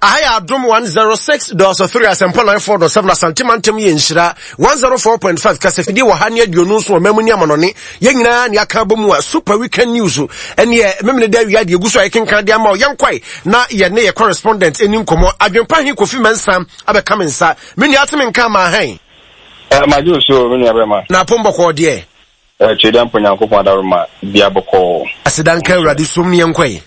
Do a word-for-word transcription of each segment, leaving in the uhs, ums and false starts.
Aha yɛ Adom one zero six dot three, Asɛmpa nine four dot seven, Asante mantam yɛ nhyira one zero four point five, kasafidie wɔ ha ne aduonu nso wɔ mamu ne amanɔne. Yɛn nyinaa ne aka abɔ mu a Super Weekend News ɛneɛ memene da awia deɛ egu so a yɛkenkan de ama wo. Yɛnkwae na yɛne yɛ correspondent ɛni nkɔmmɔ. Adwempa he Kofi Mensah abɛka me nsa. Me nua, ate me nka ama hɛn? Magye so, me nua bɛma. Na apom bɔkɔɔ deɛ? Twɛdi mpo, Nyankopɔn adaroma bia bɔkɔɔ. Aseda nka Awurade som ne yɛnkwae.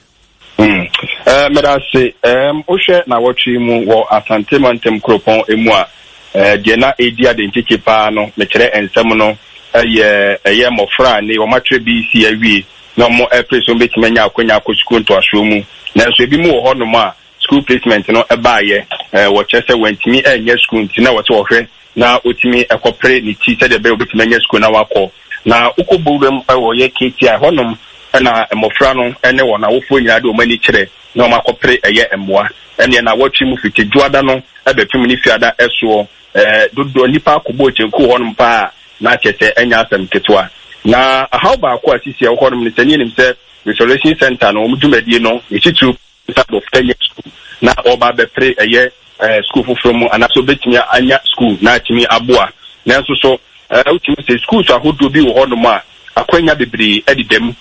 Meda ase. Wohwɛ na wɔtwe mu wɔ Asante mantam kuropɔn mu a, deɛ na ɛdi ade nkyekye paa no, mekyerɛ nsɛm no, ɛyɛ ɛyɛ mmɔfra a ne wɔmatwerɛ B E C awie na wɔn ɛpere so wɔbɛtumi anya akonnwa akɔ sukuu ntoasoɔ mu. Nanso ebi mu wɔ hɔnom a school placement no ɛbaayɛ, wɔkyerɛ sɛ wɔntumi ɛnyɛ school, nti na wɔsɛ wɔhwɛ na wɔtumi ɛkɔpere ne ti sɛdeɛ ɛbɛyɛ wɔbɛtumi anya school na wakɔ. Na wokɔ bowuram ɛwɔ yɛ K T I hɔnom, ɛna mmɔfra no ɛne wɔn awofoɔ nyinaa de wɔn ani kyerɛ na wɔn akɔpere ɛyɛ mmoa. Ɛneɛ na wɔtwe mu fiti dwoada no ɛbɛpem ne fiada ɛsoɔ, ɛɛ dodoɔ nipa akɔbɔ kyenku hɔnom paa na kyerɛ sɛ ɛnyɛ asɛm ketewa. Na ahaw baako a sisi ɛwɔ hɔnom no sɛ ne yɛnim sɛ restoration center no, wɔn dwumadie no ne titiriw sɛ abɔfra nyɛ sukuu na ɔba abɛpere ɛyɛ ɛɛ sukuu foforɔ mu anaasɛ obetumi anya sukuu na atumi aboa. Nanso so ɛɛ wotumi sɛ schools ahodoɔ bi wɔ hɔnom a akwanya bebree ɛdeda mu,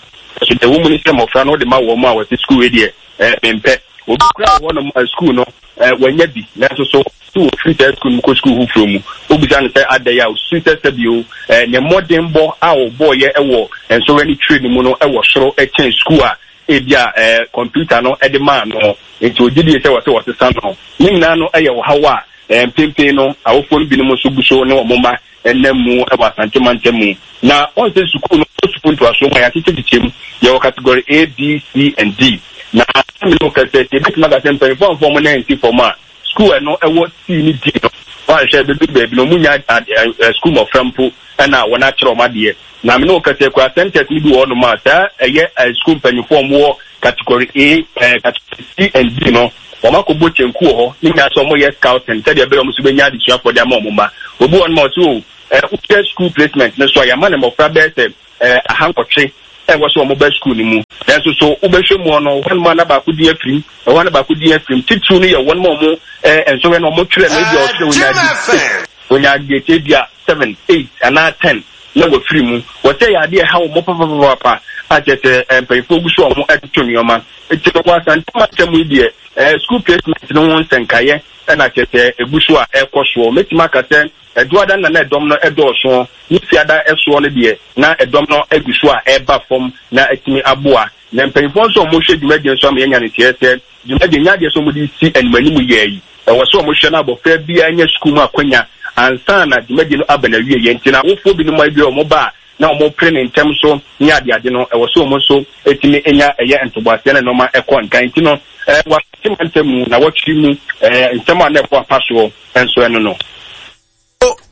so deɛ wɔn mu ne sɛ mmɔfra no wɔde ma wɔn a wɔte sukuu yi deɛ, ɛɛ mempɛ. Obi kura wɔ hɔnom a sukuu no ɛɛ wɔanya bi, nanso so so wɔfiri saa sukuu no mu kɔ sukuu foforɔ mu, obisa no sɛ adɛ a osusu sɛ sɛbio ɛɛ ne mmɔdenbɔ a ɔbɔɔyɛ ɛwɔ nsɔhwɛ ne twerɛ no mu no ɛwɔ soro ɛkyɛn sukuu a ebi a ɛɛ kɔmputa no ɛde maa no, nti ogye die sɛ wɔsɛ wɔsesa no. Ne nyinaa no ɛyɛ ɔhaw a ɛɛ mpempem no awofoɔ no binom nso gu so ne wɔn mma ɛnam mu ɛwɔ Asante mantam mu. Na wɔn sɛ sukuu no, sukuu ntoasoɔ mu a yɛakyekyɛkyekyɛ mu, yɛwɔ category A, B, C and D. Na ɛmi no kɛsɛ ebitumi aka sɛ mpanyinfoɔ afɔ wɔn nan nsi fam a sukuu ɛno ɛwɔ C ne D no, wɔanhwɛ bɛbi baabi na wɔn nya sukuu mmɔfra mpo ɛna wɔn akyerɛ wɔn adeɛ. Na mene kɛsɛ kura centers no bi wɔ hɔnom a saa ɛyɛ sukuu mpanyinfoɔ a wɔwɔ category A, ɛɛ category C and D no, wɔn akɔbɔ kyenku wɔ hɔ ne nyinaa sɛ wɔyɛ scouting sɛdeɛ ɛbɛyɛ wɔn nso bɛnya adesuafoɔ de ama wɔn mma. Obi wɔ hɔnom a ɔsɛ o ɛɛ wohwɛ school placement no so a, yɛama ne mmɔfra bɛyɛ sɛ ɛɛ ahanwɔtwe ɛwɔ sɛ wɔn ba school no mu, nanso so wobɛhwɛ mu no, hɔnom a na baako di afirim ɛhɔ na baako di afirim. Titiriw no yɛ wɔn a wɔn ɛɛ nsɔhwɛ no wɔn twerɛ no, ebi a ɔtwerɛ onya di onya grade ebi a seven, eight anaa ten na wɔfiri mu. Wɔsɛ yɛ adeɛ ɛha wɔn papapapa a kyerɛ sɛ ɛɛ mpanyinfoɔ gu so a wɔn ɛtoto nneɛma. Eti no wɔ Asante mantam yi deɛ, ɛɛ school placement no ho nsɛnkaeɛ ɛna kyerɛ sɛ egu so a ɛkɔ soɔ. Mɛtumi aka sɛ ɛduada na na ɛdɔm no ɛdɔɔso, ne fiada ɛsoɔ no deɛ, na ɛdɔm no egu so a ɛreba fam na ɛtumi aboa. Na mpanyinfoɔ nso a wɔhwɛ dwumadie nso ama yɛnya ne teɛ sɛ dwumadie nya adeɛ sɛ wɔde si anim anim yɛ yi, ɛwɔ sɛ wɔhwɛ no abɔfra biara nya sukuu mu akonnwa ansa na dwumadie no aba na wie yɛ. Nti na awofoɔ binom a ebi a wɔn ba a na wɔn pere ne ntɛm so ne adeade no, ɛwɔ sɛ wɔn nso etumi nya ɛyɛ ntoboaseɛ na nneɛma ɛkɔ nkan. Nti no ɛɛ wɔ Asante mantam mu na wɔtwe mu ɛɛ nsɛm a na ɛkɔ apa soɔ nso ɛno no.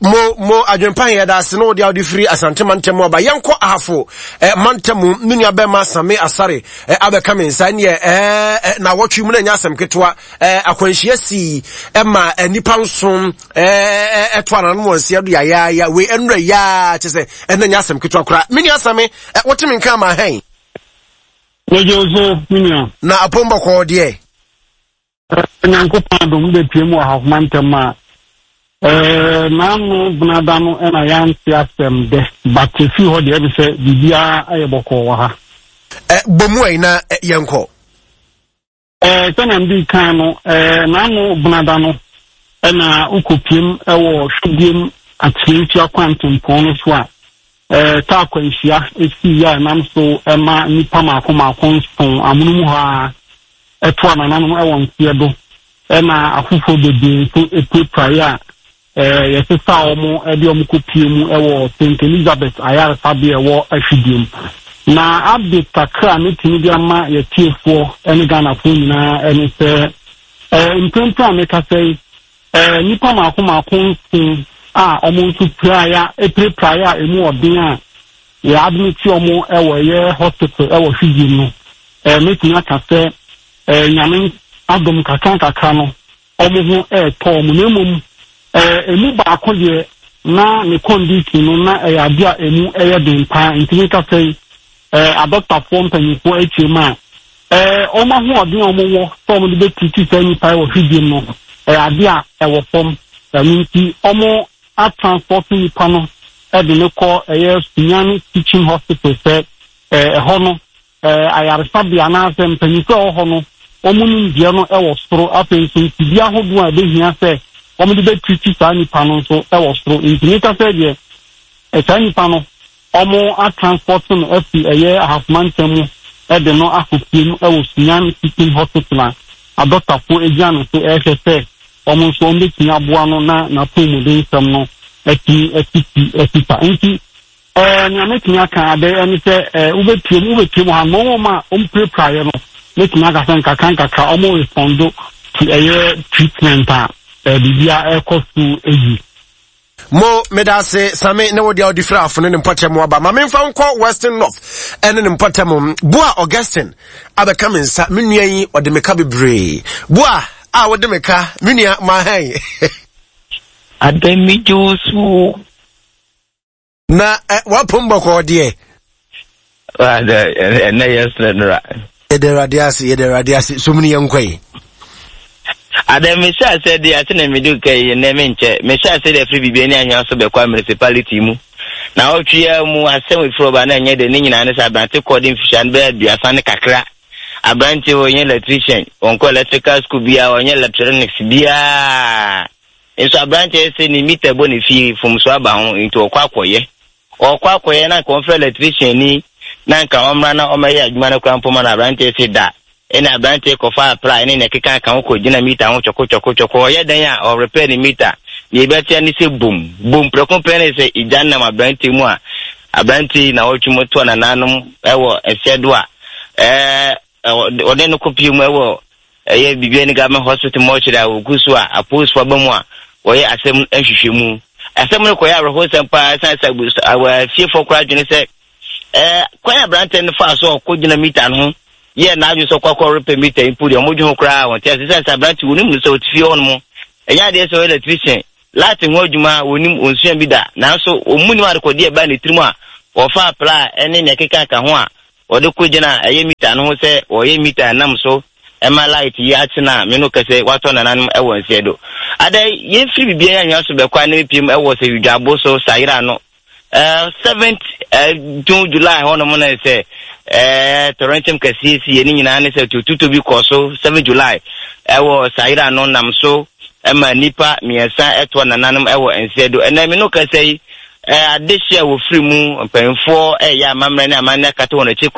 Mo mo adwempa, yɛ da ase na wɔde awode firi Asante mantam mu aba. Yɛnkɔ Ahafo eh, mantam mu. Me nua bɛma Same Asare eh, abɛka me nsa. Neɛ eh, eh, na wɔtwe mu no ɛnyɛ asɛm ketewa. eh, akwanhyia sii ɛma eh, nnipa nson eh, ɛto ananom wɔn nsia do yayaaya. Wei ɛnura yaa kyɛ sɛ ɛna nyɛ asɛm ketewa koraa. Me nua Same, eh, wote me nka ama hɛn? Megye wo so, me nua. Na apom bɔkɔɔ deɛ? Nyankopɔn adom, bɛpie mu wɔ Ahafoma ntɛm a naano benada no ɛna yɛante asɛm dɛ, but ɛfiri hɔ deɛ, ɛbi sɛ biribiara ayɛ bɔkɔɔ wɔ ha. Bɔ mu ayi na yɛnkɔ. Sɛnea mede kan no, naano benada no ɛna wokɔpiem ɛwɔ Hwediem Akyerɛntua kwantempɔn no so a kaa akwanhyia esii a ɛnam so ɛma nnipa mako mako nson amono mu hɔ a ɛto anananom ɛwɔ nseɛ do, ɛna afoforɔ bebree nso epiraepiraeɛ a ɛɛ yɛsesa wɔn de wɔn kɔpie mu ɛwɔ Saint Elizabeth ayaresabea ɛwɔ Ahwidiem. Na update kakra a metumi de ama yɛtiefoɔ ɛne Ghanafoɔ nyinaa ɛne sɛ ɛɛ mprempren a mekasa yi, ɛɛ nnipa mako mako nson a wɔn nso piraeɛ a epiraepiraeɛ a emu ɔden a yɛ admit wɔn ɛwɔ ɛyɛ hospital ɛwɔ Hwidiem no, ɛɛ metumi aka sɛ ɛɛ Nyame adom, kakra nkakra no wɔn ho ɛɛtɔ wɔn. Na mmom ɛɛ emu baako deɛ, na ne condition no na ɛyɛ ade a emu ɛyɛ den paa, nti mekasa yi, ɛɛ adɔktafoɔ mpanyinfoɔ akyire mu a ɛɛ wɔn ahoɔden a wɔwɔ sɛ wɔde bɛtutu saa nnipa yi wɔ hwidiem no, ɛyɛ adeɛ a ɛwɔ fam. Ɛno nti wɔn atransport nnipa no de no kɔ ɛyɛ Sunyani Teaching Hospital sɛ ɛɛ ɛhɔ no ɛɛ ayaresabea anaasɛ mpanyinfoɔ a ɛwɔ hɔ no wɔn nimdeɛ no wɔ soro. Afei nso mfidie ahodoɔ a ɛbɛhia sɛ wɔde bɛtutu saa nnipa no nso wɔ soro. Nti meka sɛ deɛ saa nnipa no wɔn atransport no afi ɛyɛ Ahafo mantam mu de no akɔ fie mu wɔ Sunyani Teaching Hospital a adɔktafoɔ gyina no so ɛrehwɛ sɛ wɔn nso wɔn bɛtumi aboa no na n'apɔmuden nsɛm no atumi asisi asisa. Nti ɛɛ nea mɛtumi aka adɛ ɛne sɛ ɛɛ wobɛpie mu wobɛpie mu ha no wɔn a wɔn pirapiraeɛ no mɛtumi aka sɛ nkakra nkakra wɔn respond to ɛyɛ treatment a ɛɛ biribiara ɛrekɔ so yie. Mo medase Same ne wo deɛ wode firi Afo ne ne mpɔtam aba. Ma memfa nkɔ Western North ɛne ne mpɔtam. Boa Augustine abɛka me nsa. Me nua yi ɔde me ka bebree. Boa a wode me ka, me nua mahɛn. Adɛn megye wo so. Na eh, wapom bɔkɔɔ deɛ. Ɛnɛ yɛ srɛ nora. Yɛde Awurade ase, yɛde Awurade ase. So mu ne yɛnkɔ yi. Adɛn mehyɛ ase de ase na mede ka yi nnɛ menkyɛ. Mehyɛ ase de afiri biribi ani ahwea so bɛkɔ municipality mu. Na ɔtwe mu asɛm efiri ɔba na ɛnyɛ de ne nyinaa ne sɛ aberante kɔɔ de mfihyia no bɛyɛ aduasa ne kakra. Aberante ɔnyɛ electrician, ɔnkɔ electrical school biara, ɔnyɛ electronics biara. Nso aberante sɛ ne meter bɔ ne fie fomso aba ho nti ɔkɔ akɔyɛ. Ɔkɔ akɔyɛ na nka ɔmfrɛ electrician ni na nka ɔmmra na ɔmmɛyɛ adwuma no koraa mpo ma no aberante sɛ da. Ɛna aberante kɔfa apra ne ne keka ka ho kɔgyina meter ho twɔko twɔko twɔko. Ɔyɛ dan a ɔrepair ne meter. Nea ɛbɛtea ne sɛ bom. Bom prɛko pɛ ne sɛ egya nam aberante mu a aberante na ɔtwe mu toa nananom ɛwɔ ɛsɛ do a ɛɛ ɔde no kɔpie mu ɛwɔ ɛyɛ biribi ne government hospital mortuary a wɔgu so a apolisifoɔ aba mu a wɔyɛ asɛm nhwehwɛmu. Asɛm no kɔyɛ awerɛhosɛm paa ɛsiane sɛ fiefoɔ koraa adwene sɛ ɛɛ kwan aberante no faa so ɔkɔgyina meter no ho yɛ n'adwene sɛ ɔkɔ akɔ repɛ meter mpo deɛ ɔmo dwe ho koraa wɔn te ase sɛ sɛ aberante wɔnim no sɛ ɔte fie hɔ nom ɛnyɛ adeɛ sɛ ɔyɛ electrician light ho adwuma wɔnim onsua bi da nanso ɔmu nim adekɔdeɛ ɛbaa ne tirim a wɔfa apla ɛne nea ɛkeka ka ho a wɔde kɔgyina ɛyɛ meter no ho sɛ wɔyɛ meter nam so ɛma light yi akyena me no kɛsɛ watɔ nananom ɛwɔ nseɛ do. Ada yɛmfiri biribiara anwea so bɛkɔ a na mepiem ɛwɔ sɛ widwabo so sayera no Uh, seventh uh, June July hɔnom na sɛ ɛɛ tɔrɔnkyɛm kɛseɛ si yɛ ne nyinaa ne sɛ tututu bi kɔ so seven July ɛwɔ sayera no nam so ɛma nipa mmiɛnsa ɛtoa nananom ɛwɔ nseɛ do. Ɛnna mi no kɛsɛ yi ɛɛ adehye a wɔfiri mu mpanyinfoɔ ɛyɛ amammerɛ ne amanneɛ akata wɔn akyi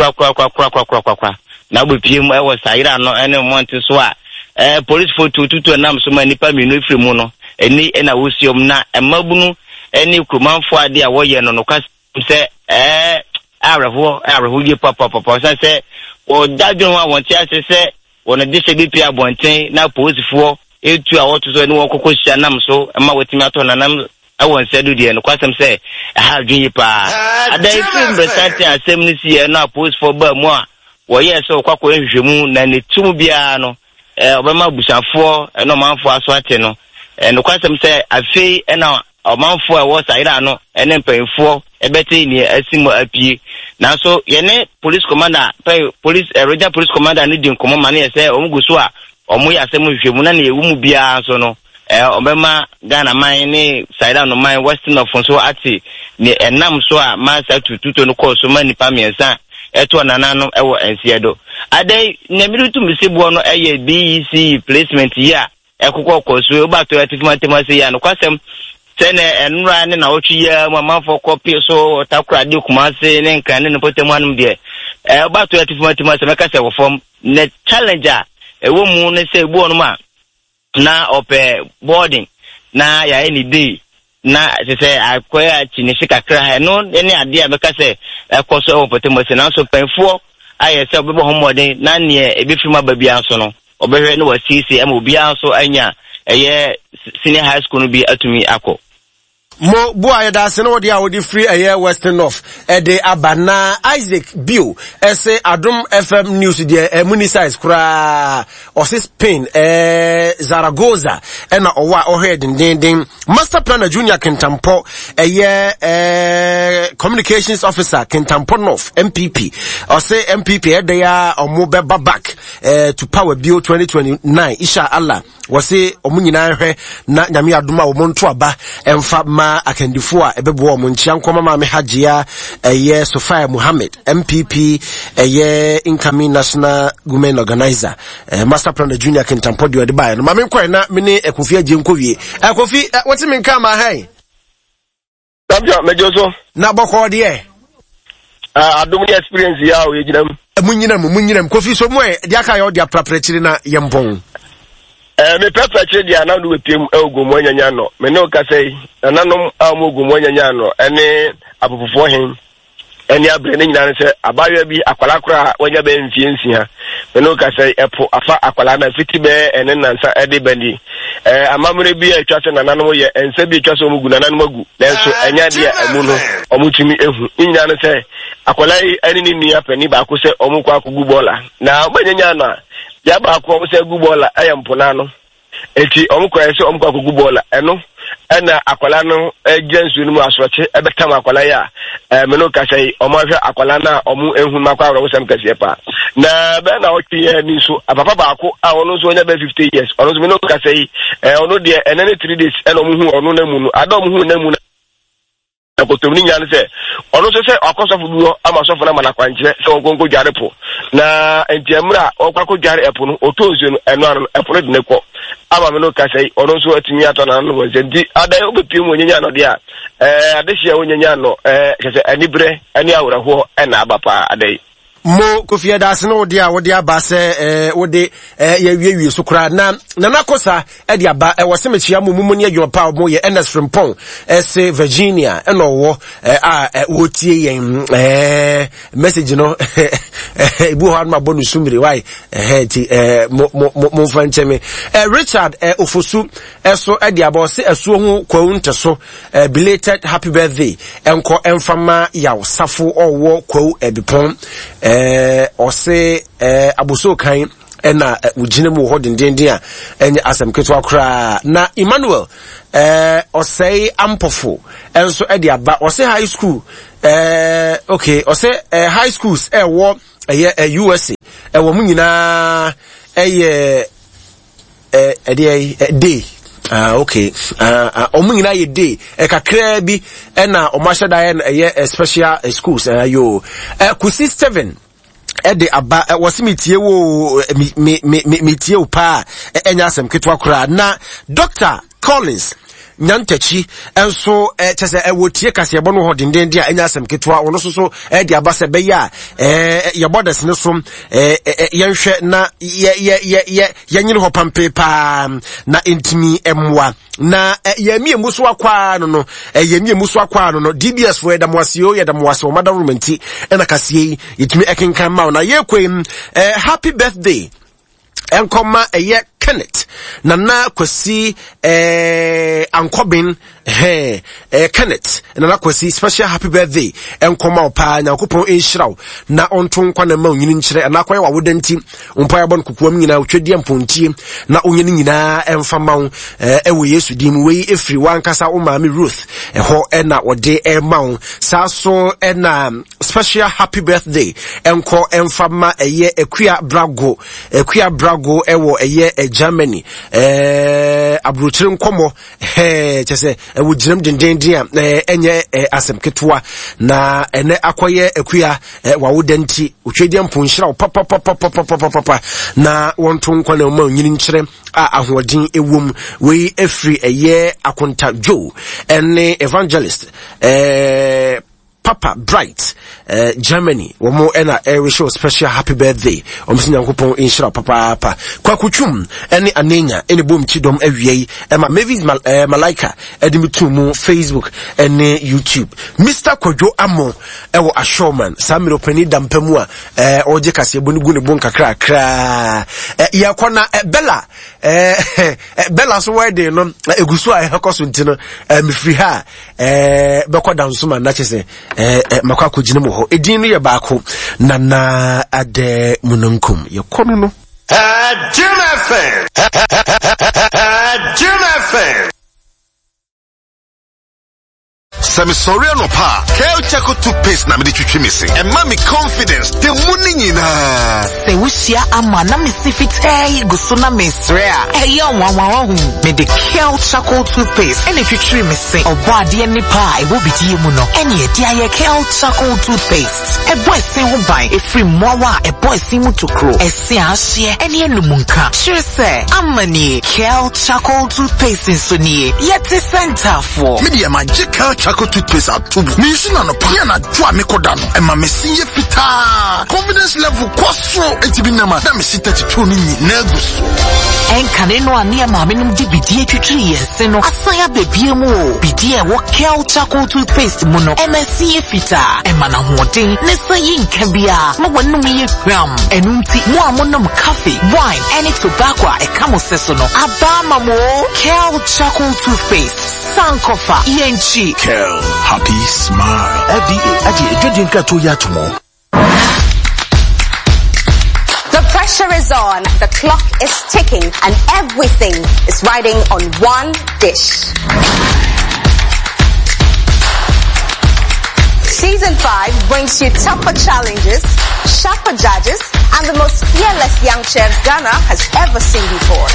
korakorakorakorakorakorakora na wɔbɛpie mu ɛwɔ sayera no ɛne mmɔnten so a ɛɛ polisifoɔ tututu nam so ma nipa mmienu efiri mu no ɛni ɛna wɔsi wɔn na mmabunu ɛne kuromanfoɔ ade a wɔyɛ no nokwasɛm sɛ ɛɛ awerɛhoɔ awerɛhoɔ yie papapapa ɔsan sɛ wɔda dwene ho a wɔn te ase sɛ wɔn de hyɛ bi pie abɔnten na polisifoɔ etu a wɔto so ɛne wɔn kɔkɔ hyia nam so ɛma wɔtumi atɔ nanam ɛwɔ nsa do deɛ nokwasɛm sɛ ɛha adwene yie paa. Adan efiri mmeresanten asɛm no si yɛ no a polisifoɔ baa mu a wɔyɛɛ sɛ wɔkɔ akɔyɛ nhwehwɛmu na ne tum biara no ɛɛ ɔbɛma abusuafoɔ ɛne ɔmanfoɔ aso ate no ɛɛ nokwasɛm sɛ afei ɛna ɔmanfoɔ a ɛwɔ sayera no ɛne mpanyinfoɔ ɛbɛte nea asi mu apue. Nanso yɛne police commander pɛn police ɛ regional police commander no di nkɔmɔ ma no yɛ sɛ wɔn gu so a wɔn yɛ asɛm nhwehwɛmu na nea ɛwɔ mu biara nso no ɛɛ ɔbɛma Ghana man ne sayera no man Western North nso ate nea ɛnam so a ma saa tututo no kɔɔ so ma nipa mmiɛnsa ɛtoɔ nananom ɛwɔ nseɛ do. Adan nea mi tum si boɔ no ɛyɛ B E C placement yi a ɛkokɔ kɔ so wobatɔ atifi mantam ase yi a nokwasɛm sɛ ne ɛnora ne nawɔtwe yi a mu amanfoɔ kɔpie so Takoradi Kumase ne Nkran ne ne mpɔtam anom deɛ ɛɛ wobatɔ atifi mantam ase mɛka sɛ wɔ fam. Na challenge a ɛwɔ mu ne sɛ ebi wɔ nom a na ɔpɛ boarding na yɛayɛ ne day na kyerɛ sɛ akɔyɛ akyi ne hye kakra ɛno ne adeɛ a mɛka sɛ ɛkɔ so ɛwɔ mpɔtam ase. Nanso mpanyinfoɔ ayɛ sɛ ɔbɛbɔ ho mmɔden na neɛ ebɛfiri mu aba biara nso no ɔbɛhwɛ ne wasiesie ama obiara nso anya ɛyɛ senior high school no bi atumi akɔ. Mo boa, yɛda ase ne wɔde a wɔde firi ɛyɛ Western North ɛde aba. Na Isaac Bio ɛsɛ Adom F M News deɛ, ɛmu ni size koraa. Ɔse Spain, ɛɛ Zaragoza, ɛna ɔwɔ a ɔhwɛ dendenden. Master Planner Junior Kentampɔ, ɛyɛ ɛɛ communications officer, Kentampɔ North N P P. Ɔse N P P ɛdɛ a ɔmo bɛba back ɛɛ to power bio twenty twenty-nine, insha Allah. Wɔse ɔmo nyinaa hwɛ na Nyame adom a wɔn nto aba ɛmfa ma akandifoɔ a ɛbɛboa ɔmo. Nkyia nkɔma Maame Hagyia, ɛyɛ Sophia Muhammed, N P P ɛyɛ incoming national women organizer. eh, master Planner Junior Kentampɔ deɛ ɔde baeɛ no, maame nkɔɛ na me ne Kofi agye nkɔ wie. eh, kofi eh, wote me nka ma hɛn? Champion, mɛgye so. Na bɔkɔɔ deɛ? Adom ne experience yi a ɔyɛ gyina mu. Mu nyina mu, mu nyina mu. Kofi so mu ɛ deɛ aka yɛ ɔde aprapra akyiri na yɛmpɔn. Ɛɛ mepɛpɛ akyire deɛ anam de wepiem ɛwɔ Gomu anyanya no. Me ne wo kasa yi, nananom a wɔn Gomu anyanya no ɛne apopofoɔ hen ɛne abere ne nyinaa no sɛ abaayewa bi, akwalaa koraa a wanya bɛyɛ mfie nsia. Me ne wo kasa yi, ɛpo afa akwalaa na fiti bɛyɛ ɛne nansa ɛde ba ni. Ɛɛ amammerɛ bi a atwa sɛ nananom yɛ, nsa bi atwa sɛ wɔn gu nananom agu, nanso ɛnyɛ adeɛ a ɛmu no wɔn tumi ehu. Ne nyinaa no sɛ akwalaa yi ɛne ne nua panin baako sɛ wɔn kɔ akɔgu bɔɔla na wɔn anyanya no a bea baako a wɔn sɛ gu bɔɔla ɛyɛ mpona no. Eti wɔn kɔ ɛsɛ wɔn kɔ akɔgu bɔɔla ɛno, ɛna akwalaa no gyina nsuo no mu, asorɔkye ɛbɛtam akwalaa yi a ɛɛ mene kasa yi, wɔn ahwɛ akwalaa no a wɔn ehu no akɔ awerɛhosɛm kɛseɛ paa. Na bɛyɛ na ɔtwe yɛ ni nso, papa baako a ɔno nso ɔnya bɛyɛ fifty years, ɔno nso mene kasa yi, ɛɛ ɔno deɛ ɛnɛ ne three days ɛna wɔn hu ɔno na mu no ada wɔn hu na mu no akotom. Ne nyinaa no sɛ ɔno nso sɛ ɔkɔ sɔfo bi hɔ ama sɔfo no ama no akwankyerɛ sɛ ɔnkɔ nkɔdware po. Na nti mmerɛ a ɔkɔ akɔdware ɛpo no, ɔtɔ nsuo no ɛno ano no, ɛpo no de ne kɔ ama me no kasa yi, ɔno nso atumi atɔ n'ano wɔ nsɛm. Nti adan wobɛpie mu onyanya no deɛ a ɛɛ adehyeɛ a wonyanya no, ɛɛ kyɛ sɛ aniberɛ ne awerɛhoɔ ɛna aba paa ada yi. Mo Kofi, ɛda ase ne wode a wode aba sɛ ɛɛ wode ɛɛ yɛwiewie so koraa. Na Nana Kosa ɛde aba, ɛwɔ sɛ mekyia mo mumu ne adwuma pa a wɔn yɛ. Ernest Frimpong ɛsɛ Virginia ɛna ɔwɔ ɛɛ a ɛ wɔtie yɛn. ɛɛ message no ebi wɔ hɔ anum abɔ no sumire wae ɛhɛ, nti ɛɛ mo mo mo mo nfa nkyɛn mi. ɛɛ Richard ɛɛ Ofosu ɛso ɛde aba, ɔsɛ ɛsuo ho kwawu ntɛ so, ɛɛ belated happy birthday ɛnkɔ ɛnfama Yaw Safo ɔwɔ Kwawu Ɛbipɔn. ɛɛ ɔsɛ ɛɛ aboso kan ɛna wogyina mu wɔ hɔ dendenden a ɛnyɛ asɛm ketewa koraa. Na Emmanuel ɛɛ ɔsɛe Ampɔfo ɛnso ɛde aba, ɔsɛ high school, ɛɛ okay, ɔsɛ ɛɛ high schools ɛwɔ ɛyɛ ɛ U S A ɛwɔ mu nyinaa ɛyɛ ɛ ɛdeɛ ɛ day. Ah, okay. Ah, ah, ɔmo nyinaa yɛ day ɛkakraa bi ɛna ɔmo ahyɛ da yɛ no ɛyɛ ɛ special ɛ schools. ɛɛ yo ɛ Kusi Seven ɛde aba, ɛ wɔsi mi tie wo, mi mi mi mi mi tie wo paa, ɛnyɛ asɛm ketewa koraa. Na Doctor Collins Nyantakyi nso ɛ kyɛ sɛ ɛwɔ tie kaseɛbɔ no hɔ dendenden a ɛnyɛ asɛm ketewa. Ɔno nso so ɛde aba sɛ ɛbɛyɛ a ɛɛ yɛbɔ dɛs ne so, ɛɛ ɛ yɛnhwɛ na yɛ yɛ yɛ yɛ yɛnyere hɔ pampe paa na ntumi mmoa na yɛn mmienu so akwaa no no yɛn mmienu so akwaa no no D B S fo, yɛda mo ase o, yɛda mo ase. Wɔn adaworo nti ɛna kaseɛ yi yɛtumi ɛkenkan ma wo na yɛkɔ yi. ɛɛ happy birthday ɛnkɔma ɛyɛ Kenneth Nana Kwasi ɛɛ Ankɔben hɛn, ɛɛ Kenneth Nana Kwasi, special happy birthday ɛnkɔma wo paa. Nyankopɔn nhyira wo na ɔnto nkwa na ma onyini nkyerɛ ɛna akɔyɛ wawoda nti mpa yɛbɔ no kokoam nyinaa otwadeɛ mpontie na onyɛ no nyinaa ɛmfa ma wo ɛɛ ɛwɔ Yesu din mu. Wei efiri wankasa wo maame Ruth ɛhɔ ɛna ɔde ɛma wo saa so. Ɛna special happy birthday ɛnkɔ ɛmfa ma ɛyɛ Akua Brago, Akua Brago ɛwɔ ɛyɛ Germany, ɛɛ aburokyire nkɔmɔ ɛɛ kyɛ sɛ ɛwɔ gyinam dendenden a ɛɛ ɛnyɛ ɛɛ asɛm ketewa. Na ɛnɛ akɔyɛ Akua ɛɛ wawoda nti otwadeɛ mpo nhyira wo papapapapapapa na wɔnto nkwa na ɔma onyini nkyerɛ a ahoɔden ɛwɔ mu. Wei efiri ɛyɛ Akonta Joe ɛne Evangelist ɛɛ Papa Bright, uh, Germany. Wɔn ɛna ɛrehyɛ special happy birthday. Wɔn sɛ Nyankopɔn nhyira papaapa. Kwakutwum ɛne Anenya ɛne bom kyidɔm awia yi ɛma Mavis Mal eh, Malaika ɛde mi tu mu Facebook ɛne YouTube. Mister Kwadwo Amo ɛwɔ Ashoman saa mmerɛ ɔpanin dampa mu a ɛɛ ɔregye kaseɛbɔ no gu ne bo nkakrakraa. Ɛ yɛkɔ na ɛ Bella. ɛɛ Bella so wedding no egu so a ɛkɔ so nti no ɛɛ mefiri ha ɛɛ bɛkɔ Dansoma na kyɛ sɛ ɛɛ makɔ akɔgyina mu hɔ. Edin no yɛ baako, Nana Adɛ Mununkum. Yɛkɔ no no. Jim F M. Jim F M. Sɛ mesɔre anɔpa a, Kel Charcoal toothpaste na mede twitwi me se. Ɛma me confidence da mu ne nyinaa. Sɛ wohyia ama na mesi fitaa yi gu so na mesrɛ a, ɛyɛ nwanwa ɔho. Mede Kel Charcoal toothpaste ɛna twitwiri me se. Ɔbɔ adeɛ nipa a ɛwɔ bidie mu no, ɛne ɛde ayɛ Kel Charcoal toothpaste. Ɛbɔ ɛse ho ban ɛfiri mmoawa a ɛbɔ ɛse mu tokuro, ɛse a ahyeɛ ɛne anum nka. Kyerɛ sɛ, ama nie, Kel Charcoal toothpaste nso nie. Yɛte sɛ ntaafoɔ. Me deɛ, magye Kel Charcoal toothpaste ato mu. Mensu na anɔpa ne anadwo a mekɔda no, ɛma me se yɛ fitaa. Confidence level kɔ soro. Enti bi nam a na mesi thirty-two no nyinaa gu so. Ɛnkane no a ne maame nom de bidie twitwiri yɛn se no asan abɛbie mu o. Bidie a ɛwɔ Kel Charcoal toothpaste mu no, ɛma ɛse yɛ fitaa, ɛma n'ahoɔden ne sa yi nka biara ma w'anum yɛ hwam. Ɛno nti, mo a monom coffee, wine ɛne tobacco a ɛka mo sɛ so no, aba ama mo o. Kel Charcoal toothpaste, Sankofa, yɛnkyi. Kel, happy smile. F D A agye adwadie nkratoɔ yi ato mu. The pressure is on, the clock is ticking, and everything is riding on one dish. Season five brings you tougher challenges, sharper judges, and the most fearless young chefs Ghana has ever seen before.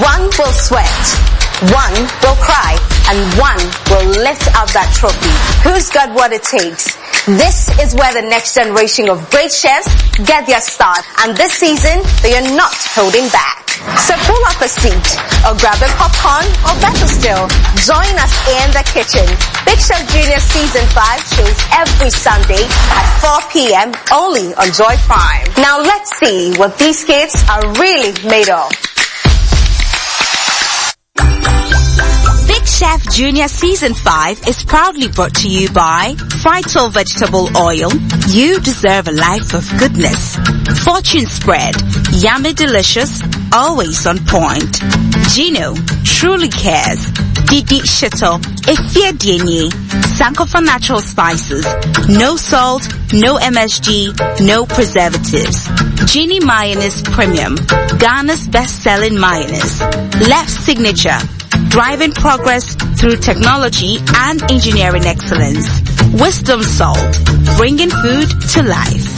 One will sweat, one will cry, and one will lift up that trophy. Who's got what it takes? This is where the next generation of great chefs get their start, and this season, they are not holding back. So pull up a seat, or grab a popcorn, or better still, join us in the kitchen. Big Chef Junior Season five shows every Sunday at four p m only on Joy Prime. Now let's see what these kids are really made of. Big Chef Junior Season five is proudly brought to you by Frytol Vegetable Oil. You deserve a life of goodness. Fortune Spread. Yummy delicious, always on point. Gino, truly cares. Didi Shito, Efie Dienye, Sankofa Natural Spices. No salt, no M S G, no preservatives. Genie Mayonnaise Premium, Ghana's best-selling mayonnaise. Left Signature, driving progress through technology and engineering excellence. Wisdom Salt, bringing food to life.